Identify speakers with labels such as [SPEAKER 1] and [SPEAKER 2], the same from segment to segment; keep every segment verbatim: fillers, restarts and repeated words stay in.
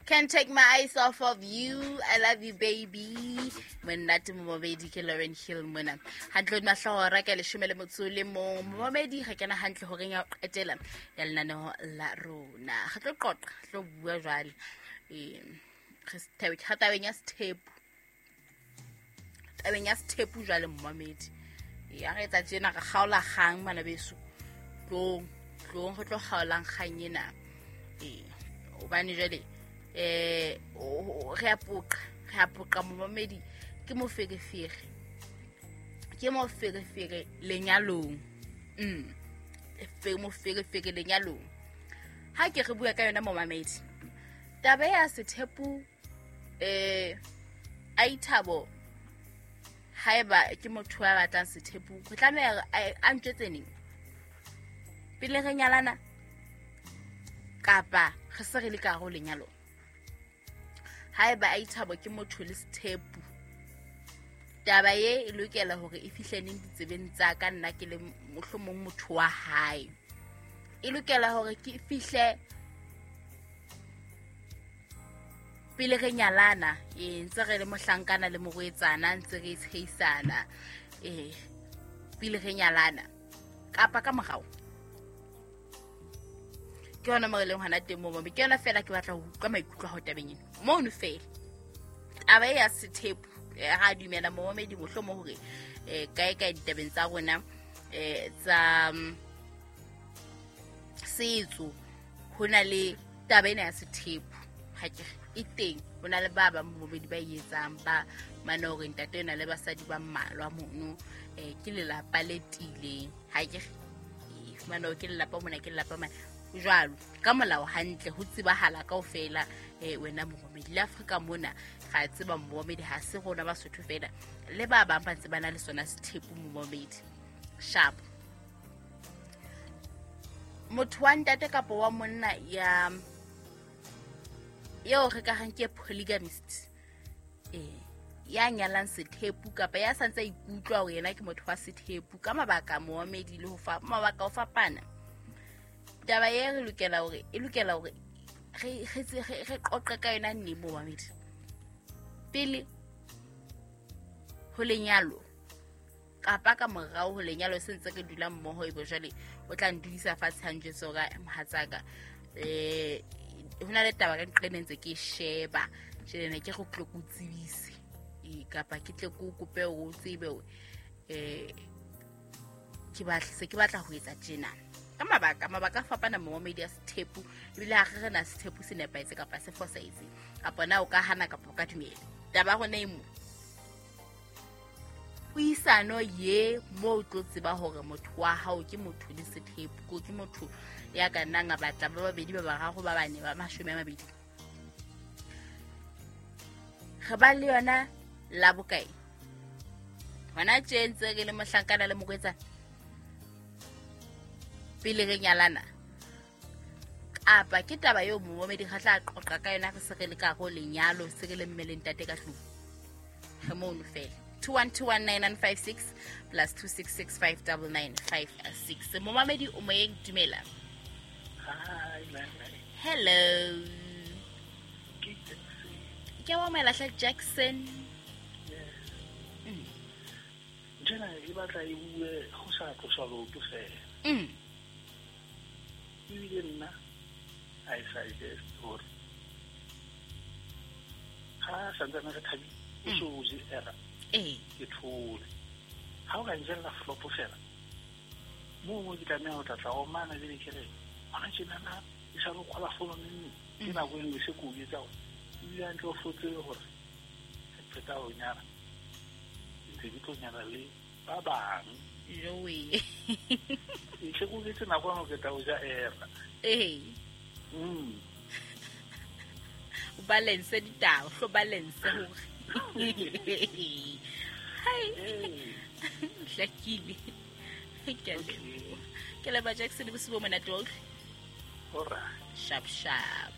[SPEAKER 1] Can't take my eyes off of you. I love you, baby. Monate momamedi ke Lauren Hill mona. Hantle hodima hlooho ra ka leshome le motso le mong. Momamedi re kena hantle horeng ya ho qetela ya lenaneo la rona. Re tlo qoqa, re tlo bua jwale. Eh, re tabeng tabeng ya sethepu. Tabeng ya sethepu jwale momamedi. Ya re etsa tjena re kgaola kgang bana beso. Tlong, tlong re tlo kgaolang kgang ena. Eh, hobane jwale eh re a poqa, re a poqa momamedi ke moferefere. Ke moferefere lenyalong. Mm. Fe moferefere lenyalong. Ha ke re bua ka yona momamedi. Taba ya sethepu eh Aithabo haeba ke motho ya batlang sethepu, go tlameha a ntjwetse neng? Pele re nyalana kapa re se re le ka hare ho lenyalo? Haeba Aithabo ke motho le sethepu, taba ye e lokela hore e fihle neng ditsebeng tsa ka nna ke le mohlomong motho wa hae. E lokela hore ke fihle pele re nyalana, eh ntse re le mohlankana le morwetsana, ntse re tsheisana, eh pele re nyalana kapa ka morao. Ke yona mo re leng hona teng moo, ke yona fela ke batla ho utlwa maikutlo a hao tabeng ena. Mono fela taba ya sethepu, ra dumela momamedi mohlomong hore eh kae kae ditabeng tsa rona eh tsa setso ho na le taba ena ya sethepu. Ha ke e teng, ho na le ba bang bobedi ba e etsang ba mane hore ntate o na le basadi ba mmalwa mono, eh ke lelapa le tiileng. Ha ke e fumana hore ke lelapa mona, ke lelapa mane jwalo ka molao hantle ho tsebahala kaofela. Eh wena momamedi le Afrika mona ga tseba momamedi ha se rona Basotho fela, le ba bang ba ntse ba na le sona sethepu momamedi. Sharp motho wa ntate kapa wa monna ya eo re ka reng ke polygamist, eh ya nyalang sethepu kapa ya santse a ikutlwa hore yena ke motho wa sethepu ka mabaka momamedi le ho fa mabaka ho fapana. Taba ye re lokela hore e lokela hore re re re qoqe ka yona nne momamedi pele ho lenyalo kapa ka morao ho lenyalo se ntse re dula mmoho. Ebe jwale o tla ndudisa fatshe ha njwetse hore mohatsaka eh ho na le taba ka nqene ntse ke sheba tjena ne ke go tlo go tsebise e kapa ke tle go kope o tsebe eh ke batla se ke batla ho etsa tjena ka mabaka mabaka a fapana momamedi ya sethepu. Ebile ha re na sethepu se nepahetse kapa se fosahetse kapa na o ka hana kapa o ka dumela. Taba ya rona e mo puisano ye mo o tlo tseba hore motho wa hao ke motho le sethepu, ke motho ya ka nnang a batla ba babedi ba bararo ba bane ba mashome a mabedi. Re ba le yona la bokae hona tje ntse re le mohlankana le morwetsana pele re nyalana, kapa ke taba eo momamedi re tla qoqa ka yona re se re le ka ho lenyalo, se re le mme le ntate ka tlung. Re mono fela. Two one two one nine nine five six plus two six six five double nine five six. Momamedi o moyeng, dumela.
[SPEAKER 2] Hi,
[SPEAKER 1] Hello. Ke wa Malahla Jackson.
[SPEAKER 2] Yes.
[SPEAKER 1] Mm.
[SPEAKER 2] Jena e batla e bue go sa tlosa loto fela.
[SPEAKER 1] Mm.
[SPEAKER 2] Ebile nna I suggest hore ha santsane re thabile o so o je era.
[SPEAKER 1] Eh.
[SPEAKER 2] Ke thole. Ha o ka njella flop fela mo mo ke tlameha ho tla tla o mana jele ke re hona tjena na e sa lo kgola fono nne ke nako e nngwe se ko etsa hore ebile hantle o fotse hore re qeta ho nyala ntse ke tlo nyala le ba bang.
[SPEAKER 1] Joe.
[SPEAKER 2] E tle ko etse nako eno ke tla o ja era.
[SPEAKER 1] Eh.
[SPEAKER 2] Mm.
[SPEAKER 1] O balance ditaba, hlo balance hore. Hai. Hlakile. Ke a leboha. Ke leboha Jackson bosiu bo monate wa utlwa.
[SPEAKER 2] Alright.
[SPEAKER 1] Sharp sharp.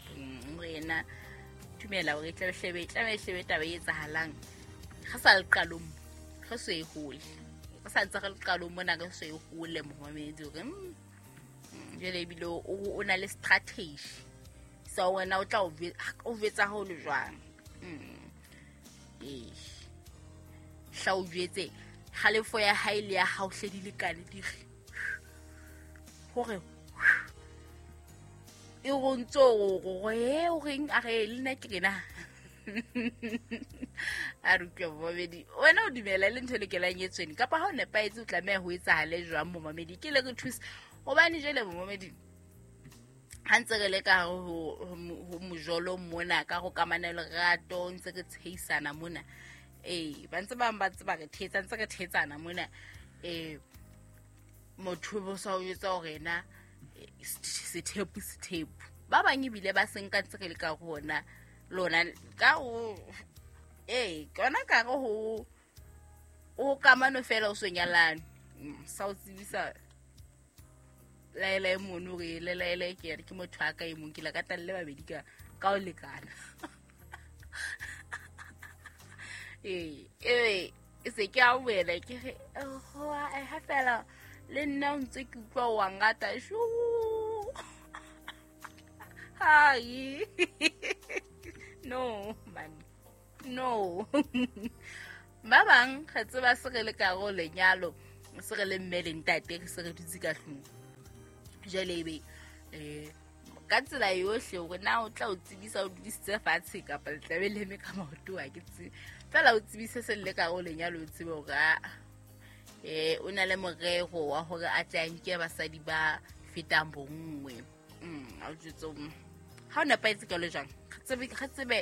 [SPEAKER 1] Wena dumela hore e tlabe hlebe, e tlabe hlebe taba e etsahalang. Re sa le qalong, re so e hole. Re sa ntse re le qalong mona re so e hole momamedi hore jwale ebile o na le strategy tsebisa wena o tla o o jwetsa ho le jwang. Mm. Eh. Hla o jwetse kgalefo ya hae le ya hao hle di lekane di re. Hore e go ntso go e o reng a re le nna ke rena. A re utlwe momamedi wena o dumela le ntho e lokelang e tsweni kapa ha o nepahetse o tlameha ho etsahale jwang momamedi ke le re thuse hobane jwale momamedi ha ntse re le ka ho ho mojolo mona ka go kamana lerato ntse re tsheisana mona eh ba ntse ba ba tseba re thetsa ntse re thetsana mona eh motho bo sa o etsa hore na sethepu sethepu ba bang ebile ba senka ntse re le ka rona lona ka o eh kona ka re ho o kamano fela o so nyalane sa o tsebisa laela e mono re le laela ke re ke motho a ka e mong ke la ka talle babedi ka ka o lekana eh eh e se ke a wela ke re ho a ha fela le nna o ntse ke utlwa wa ngata shu hai no man no ba bang re tseba se re le ka go lenyalo se re le mme le ntate re se re dutse ka tlung jwale ebe eh ka tsela yohle hore na o tla o tsebisa o dudisitse fatshe kapa le tlabe le eme ka maoto a ke tsebe fela o tsebise se le ka go lenyalo o tsebe hore a eh o na le morero wa hore a tle a nke basadi ba fetang bonngwe mm a o jwetse ha o nepahetse ka le jwang re tsebe re tsebe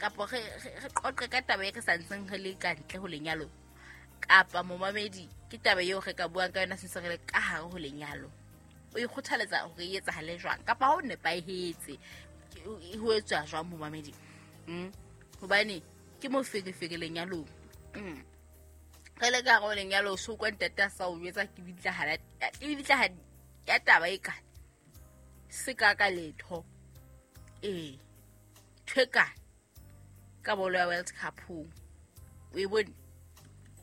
[SPEAKER 1] kapa re re qoqe ka taba e re sa ntseng re le ka ntle ho lenyalo kapa momamedi ke taba eo re ka buang ka yona se se re le ka hare ho lenyalo o ikgothaletsa hore e etsahale jwang kapa ha o nepahetse ho etswa jwang momamedi mm hobane ke moferefere lenyalong mm re le ka hare ho lenyalo so kwa ntate a sa o jwetsa ke bitla hala ke bitla ya taba e ka se ka ka letho eh thweka ka bolo ya World Cup o e bone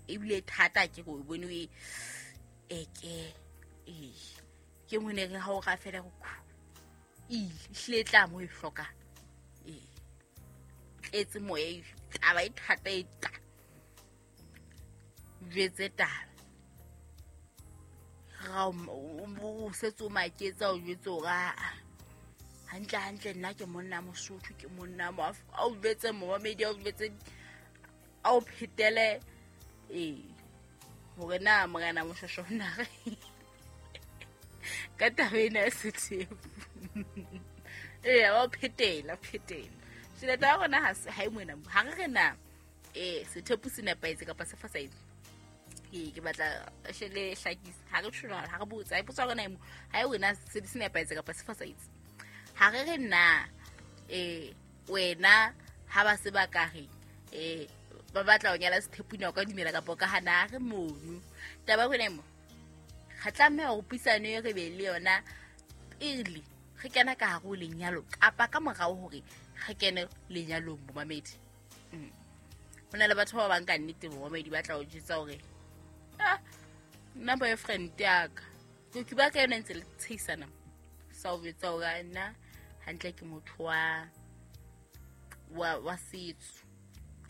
[SPEAKER 1] ebile thata ke go e bone e eke eh ke mone re ha o ga fela go ile hle tla mo e hloka eh tletse moya e taba e thata e ta jwetse taba ga o setse o maketsa o jwetse hore hantle hantle nna ke monna Mosotho ke monna mo a o jwetse momamedi a o jwetse a o phetele eh hore na morena Moshosho na re ka taba ena ya sethepu ee wa phetela phetela tjhelete ya rona ha se ha e mona ha re re na eh sethepu se nepahetse kapa se fosahetse ee ke batla shele hlakisa ha re tjho ha re botsa e potsa rona ha e wena se se nepahetse kapa se fosahetse ha re re na eh wena ha ba se ba ka re eh ba batla ho nyala sethepu na o ka dumela kapa ka hana re mono taba rona mo re tlameha ho puisano e re be le yona pele re kena ka hare ho lenyalo kapa ka morao hore re kene lenyalong momamedi mm ho na le batho ba bang ka nnete momamedi ba tla o jwetsa hore ah nna boyfriend ya ka ke ba ka yona ntse le tsheisana sa o jwetsa hore nna hantle ke motho wa wa wa setso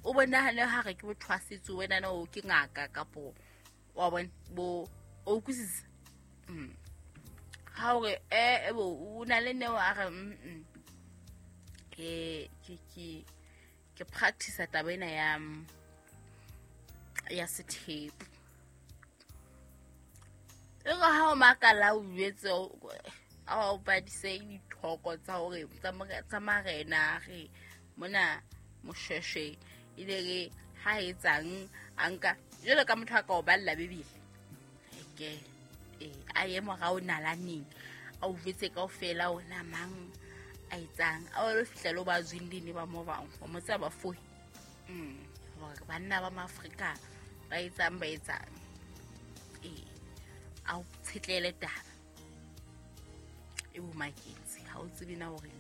[SPEAKER 1] o bonahale ha re ke motho wa setso wena na o ke ngaka kapo wa bona bo o utlwisisa mm ha hore eh bo o na le neo a re mm ke ke ke ke practice taba ena ya ya sethepu e re ha o makala o jwetse a o badise dithoko tsa hore tsa marena re mona Moshweshwe ile re ha etsang a nka jwalo ka motho a ka o balla Bibele ke eh a ye morao nalaneng a o jwetse kaofela ona mang a etsang a o fihla lo ba zwindini ba mo bang mo tsa ba fohi mm hore banna ba maAfrika ba etsang ba etsang eh a o tshetlele taba e bo maketse ha o tsebe na hore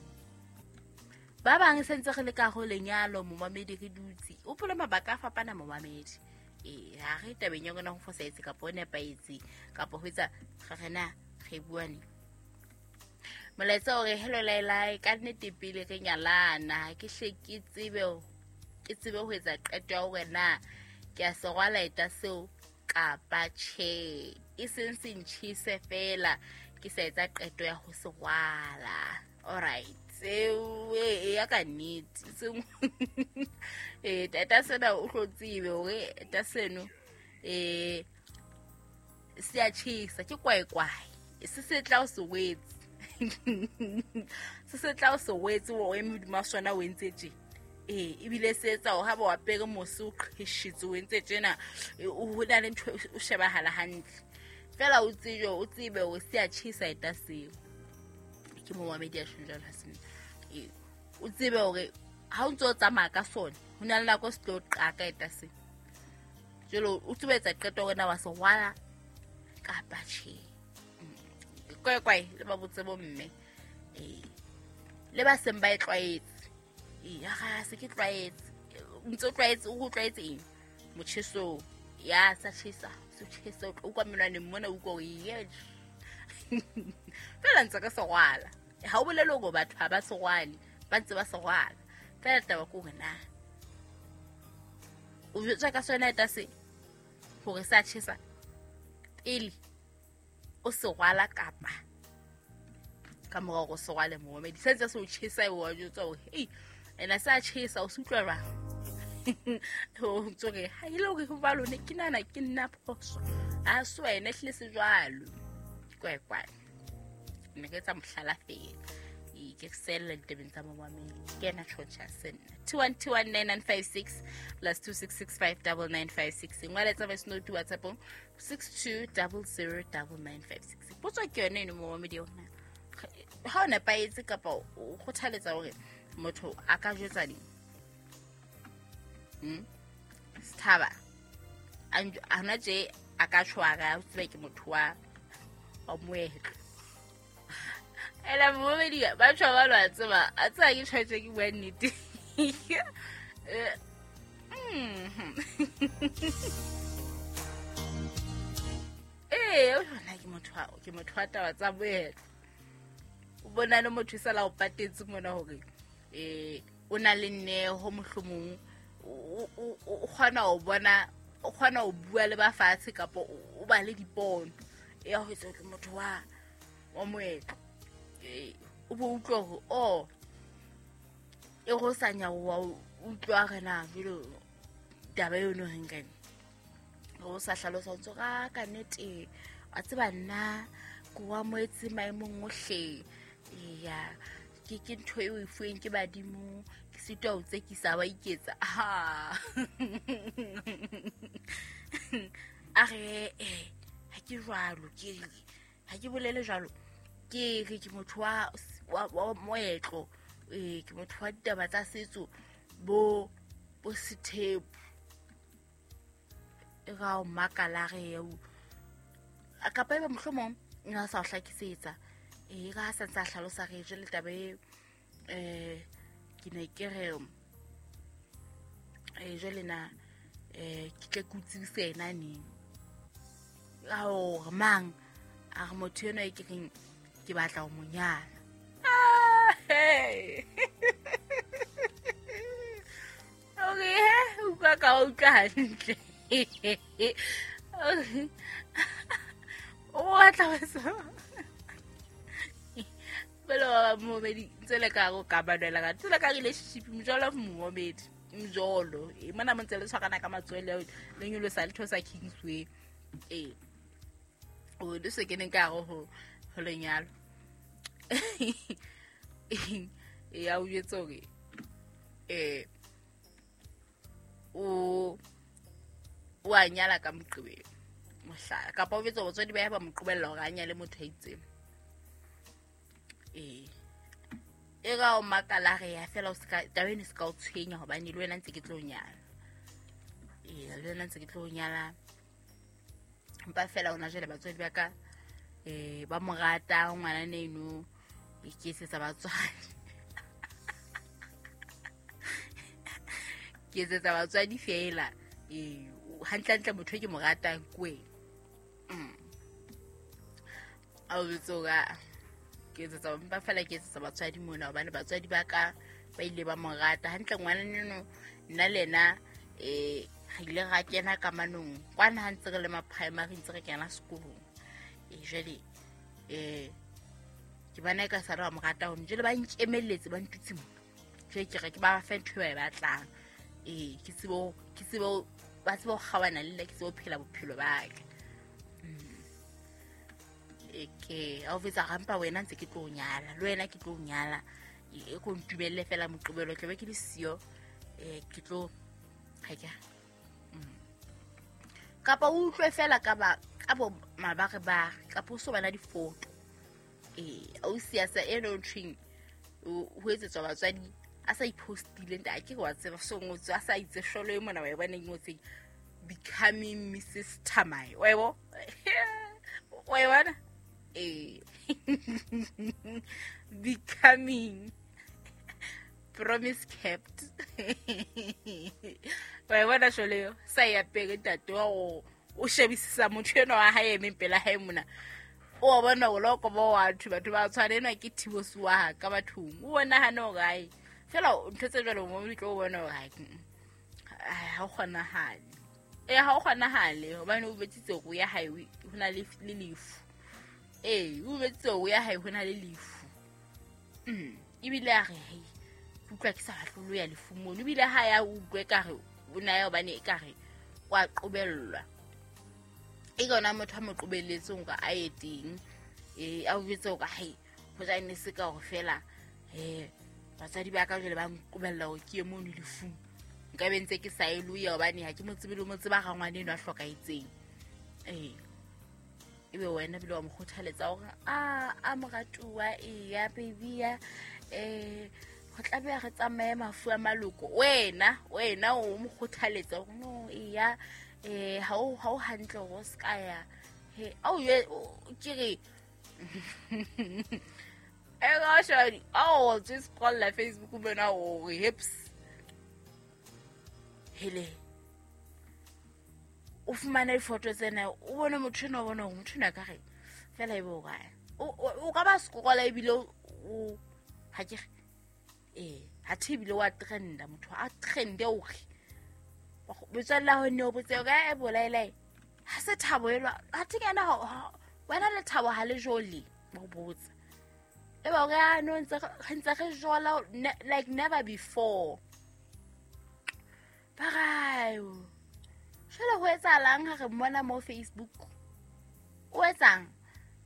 [SPEAKER 1] ba bang se ntse re le ka ho lenyalo momamedi re dutse o pole mabaka a fapana momamedi eh ha re tabeng ya rona ho fosahetse kapa ho nepahetse kapa ho etsa re rena re buane Molaetsa o re hello Lailai, ka nnete pele re nyalana ke hle ke tsebe ke tsebe ho etsa qeto ya hore na ke a se rwala eta seo kapa tjhe. E seng se ntjhise fela ke sa etsa qeto ya ho se rwala. All right. Seo e ya ka nnete. Seng eh tata sena o hlo tsebe hore eta seno eh se a tjhesa ke kwaekwae. Se se tla o se wetse. Se se tla o se wetse o eme hodima sona o entse tje. Eh ebile se etsa o ha ba apere mose o qheshitse o entse tjena o hona le ntho o shebahala hantle. Fela o tsebe o tsebe o se a tjhesa eta seo. Ke mo wa media jwalo ha sena. Eh o tsebe hore ha o ntse o tsamaya ka sona ho na le nako se tlo qaka eta seo. Jwale o tsebe etsa qeto hore na wa se rwala kapa tjhe. Kwae kwae le ba botse bo mme. Eh le ba seng ba e tlwaetse. Eh ha se ke tlwaetse. Ntse o tlwaetse o tlwaetse eng? Motjheso ya sa tjhesa, se tjhesa o kwa menwaneng mona o utlwa hore ye. Fela ntse ka se rwala. Ha o bolele hore batho ha ba se rwale, ba ntse ba se rwala. Fela taba ke hore na o jwetsa ka sona eta se hore sa tjhesa pele o se rwala kapa ka mora hore o se rwale momedi se ntse se o tjhesa o wa jwetsa hore hey ena sa tjhesa o se utlwa jwang. O ntse re ha ile hore ho ba lone ke nana ke nna phoso a so ene hle se jwalo kwae kwae nne ke tsa mohlala fela e ke sella ditabeng tsa momamedi ke ena tjhotjha senna two one two one nine nine five six plus two six six five nine nine five six ngwala tsa voice note WhatsApp six two zero zero nine nine five six. Potso ke yone eno momamedi yona ha o nepahetse kapa o kgothaletsa hore motho a ka jwetsa ding. Mm sthaba ana tje a ka tshwara o tsebe ke motho wa wa moetlo. Ela momamedi ba tshwa ba lwa tseba a tseba ke tshwaetse ke bua nnete. Eh mm eh o na ke motho wa ke motho wa taba tsa moetlo. O bona le motho sala o patetse mona hore eh o na le nneho mohlomong o o kgona ho bona o kgona ho bua le ba fatshe kapa o ba le dipono ya ho etsa ke motho wa wa moetlo. Eh o bo utlwa hore oh e go sa nyawa utlwa re na jelo taba eo no reng kae o sa hlalosa o ntse ka ka nnete a tseba nna ko wa moetse maemong ohle ya ke ke ntho eo e fuweng ke badimo ke sitwa o tsekisa ba iketsa ha a re eh ha ke jwalo ke ha ke bolele jwalo ke re ke motho wa wa moetlo eh ke motho wa ditaba tsa setso bo bo sethepu e ga o makala re eo a kapa eba mohlomong nna sa o hlakisetsa e ga sa ntsa hlalosa re jele taba e eh ke ne ke re eh jele na eh ke tle ke utswise ena neng a o mang a re motho eno e ke reng ke batla ho mo nyala. Ah hey okay utlwa ka utlwa hantle o batla ho so belo momedi ntse le ka go ka badela ka tsela ka relationship mjolo momedi mjolo e mona mo ntse le tshwarana ka matswele le nyolosa le thosa Kingsway eh o le se keneng ka go ho lenyalo ya o jwetsa hore eh o o a nyala ka Moqebelo mohlala kapa o jwetsa batswadi ba ya ba mo qobella hore a nyale motho a itseng eh e ga o makala re ya fela o ska taba eno se ka o tshwenya hobane le wena ntse ke tlo nyala eh le wena ntse ke tlo nyala mpa fela ona jele batswadi ba ka eh ba mo rata ngwana neno e ke etsetsa batswadi ke etsetsa batswadi fela eh hantle hantle motho e ke mo ratang ke wena. Mm a o botsa Ke etsetsa mpa fela ke etsetsa batswadi mona hobane batswadi ba ka ba ile ba mo rata hantle ngwana neno nna le yena eh re ile ra kena kamanong kwana ha ntse re le ma primary ntse re kena sekolong e jwale eh ke bana ka sa re ba mo rata hone jwale ba nkemelletse ba ntutse mona jwale ke re ke ba fa ntho e ba e batlang eh ke tsebo ke tsebo ba tsebo kgawana le nna ke tsebo phela bophelo ba ka e ke a o fetsa rampa wena ntse ke tlo nyala le wena ke tlo nyala e ko ntumelle fela moqobelo tlo be ke le siyo eh ke tlo ha ke kapa o utlwe fela ka ba ka bo mabare ba kapa o so bana difoto eh o siasa e no nthweng ho etsetswa batswadi a sa ipostile nta ke wa tseba so ngotswe a sa itse sholo e mona wa e bona e ngotseng becoming Missus Tamai wa e bo wa e bona eh becoming promise kept wa e bona sholo eo sa ya pele ntate wa o o shebisisa motho enwa wa hae emeng pela hae mona o bona o loko bo batho batho ba tshwanenwa ke thibosi wa ka bathong o bona hane hore ai fela ntho tse jwalo mo di tlo bona hore ha o kgonahale eh ha o kgonahale hobane o betsitse go ya hae ho na le lefu eh o betsitse go ya hae ho na le lefu mm ebile a re hei utlwa ke sa batlolo ya lefu mono ebile ha ya utlwe ka re o na ya hobane e ka re wa qobellwa e kona motho a mo qobelletseng hore a ye teng eh a o jwetse hore hai ho ja ne se ka hore fela eh batswadi ba ka jwale ba nqobella hore ke ye mono lefung nka be ntse ke sa e loya hobane ha ke mo tsebe le mo tseba ga ngwane eno a hlokahetseng eh ebe wena bile wa mo kgothaletsa hore a a moratuwa e ya baby ya eh go tla be re tsamaye mafu a maloko wena wena o mo kgothaletsa hore no e ya eh ha o ha o hantle go ska ya he au ye ke re e ga shadi oh just scroll la Facebook bona o re hips hele o fumana difoto tsena o bone motho eno o bone hore motho eno a ka re fela e be o kae o ka ba scrolla ebile o ha ke eh ha the ebile wa trenda motho a trende o re metswalle ya hao ne o botse o ka e bolaelae ha se thabo elwa ha the ke ena wena le thabo ha le jole ba o botsa e ba o re a no ntse re ntse re jola like never before ba re jwale ho etsahalang ha re mmona mo Facebook o etsang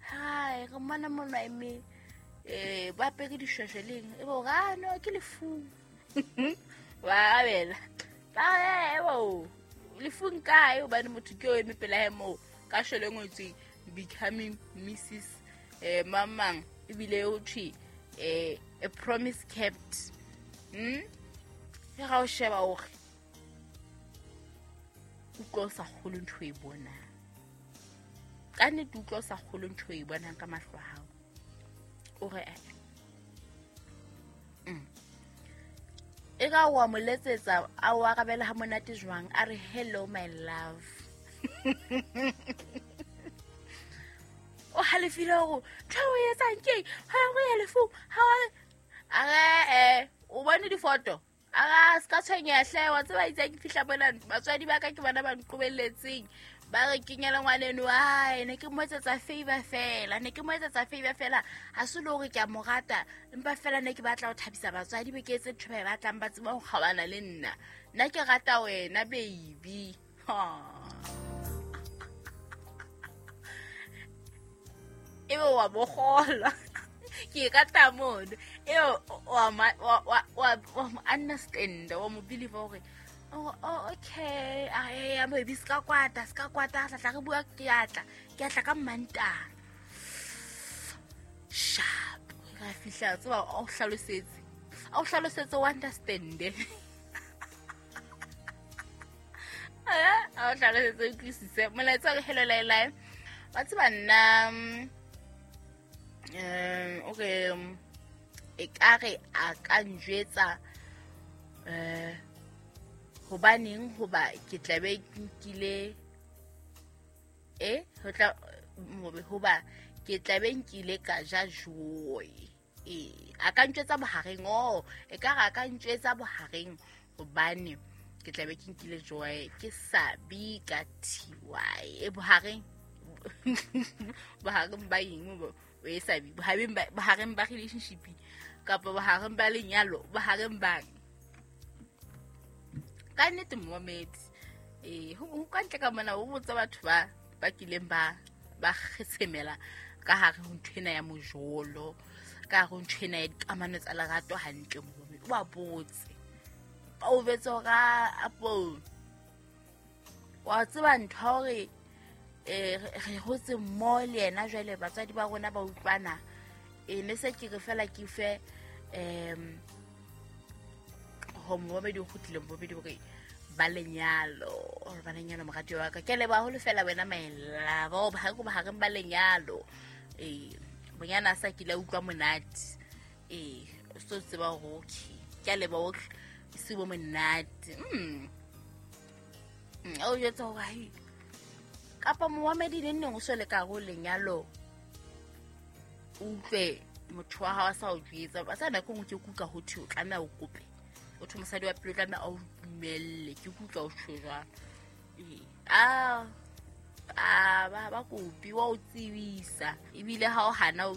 [SPEAKER 1] hai re mmona mono eme eh ba apere dishweshwe leng e bo re no ke lefung wa abela ba re bo lefung kae hobane motho ke o eme pela hae moo ka shwele ngotswe becoming Missus eh mamang ebile o thwe eh a promise kept hm e ga o sheba hore utlwa o sa kgolwe ntho e bonang ka nnete utlwa o sa kgolwe ntho e bonang ka mahlo a hao o re mm e ka wa mo letsetsa a o arabela ha monate jwang a re hello my love o halefile hore ntho o etsang ke ha o ya lefung ha a re eh o bone difoto a se ka tshwenyeha hle wa tseba itse ke fihla bona batswadi ba ka ke bona ba nqobelletseng ba re kenyela ngwaneno ai ne ke mo etsetsa favor fela ne ke mo etsetsa favor fela ha se le hore ke a mo rata empa fela ne ke batla ho thabisa batswadi be ke etse ntho ba e batlang ba tseba ho kgawana le nna nna ke rata wena baby ebe wa mo kgolwa ke rata mono eo wa wa wa understand wa mo believe hore oh oh okay ai a baby ska kwata ska kwata tla tla re bua ke atla ke atla ka Mmantaha sharp ra fihla tseba o hlalosetse o hlalosetse o understand eh o hlalosetse o utlwisise molaetsa re hello lai ba tseba nna um okay e ka re a ka njwetsa eh hobaneng hoba ke tla be ke nkile eh ho tla hoba Ke tla be nkile ka ja joy. Ee, a ka ntjwetsa bohareng, oh, e ka re a ka ntjwetsa bohareng hobane ke tla be ke nkile joy, ke Sabi ka T Y. E bohareng. Bohareng ba eng bo e Sabi? Bohareng ba, bohareng ba relationship kapa bohareng ba lenyalo, bohareng ba ka nnete momamedi. Eh, ho, ho ka ntle ka mona o botsa batho ba, ba kileng ba, ba kgetshemela ka hare ho nthwena ya mojolo, ka hare ho nthwena ya dikamano tsa lerato hantle momamedi. O ba botse. Ba o betse hore a, apo, wa tseba ntho ya hore, eh, re, re hotse mmoho le yena jwale batswadi ba rona ba utlwana. Eh, ne se ke re fela ke fe, em, ho momamedi o kgutlile momamedi hore ba lenyalo, hore ba lenyalo morati wa ka. Ke a leboha haholo fela wena my love, o bohareng, bohareng ba lenyalo. Eh, bonyana a sa kile a utlwa monate. Eh, o so tseba hore okay, ke a leboha hohle, e se bo monate. Mm. Mm, o jwetsa hore hai, kapa momamedi neng neng o so le ka hare ho lenyalo, o utlwe motho wa hao a sa o jwetsa. Ba sa nako e nngwe ke kuka ho thwe o tlameha o kope. O thwe mosadi wa pele o tlameha a o dumelle. Ke kutlwa o tjho jwalo. Ee, a, a, ba, ba kopi, wa o tsebisa. Ebile ha o hana o